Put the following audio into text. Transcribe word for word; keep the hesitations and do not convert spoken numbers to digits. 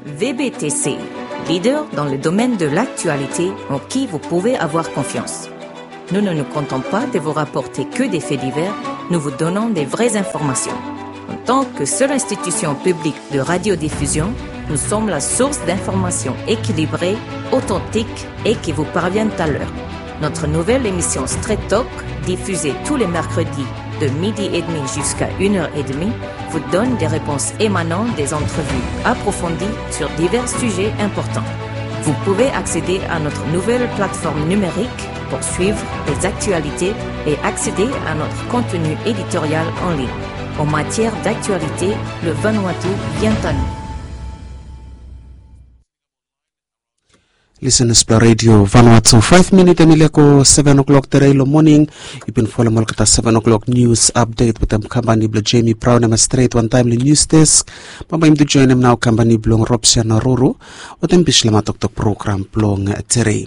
V B T C, leader dans le domaine de l'actualité en qui vous pouvez avoir confiance. Nous ne nous contentons pas de vous rapporter que des faits divers, nous vous donnons des vraies informations. En tant que seule institution publique de radiodiffusion, nous sommes la source d'informations équilibrées, authentiques et qui vous parviennent à l'heure. Notre nouvelle émission Straight Talk, diffusée tous les mercredis de midi et demi jusqu'à une heure et demie, vous donne des réponses émanant des entrevues approfondies sur divers sujets importants. Vous pouvez accéder à notre nouvelle plateforme numérique pour suivre les actualités et accéder à notre contenu éditorial en ligne. En matière d'actualité, le Vanuatu vient à nous. Listeners blong Radio Vanuatu, faef minit hemi laek go seven o'clock tere long moning. Yu bin folem olgeta seven o'clock news update wetem kampani blong Jamie Brown hemi stret wantaem long news desk. Bambae yumi tu joenem nao kampani blong Robsia Naruru wetem Bislama toktok program blong tere.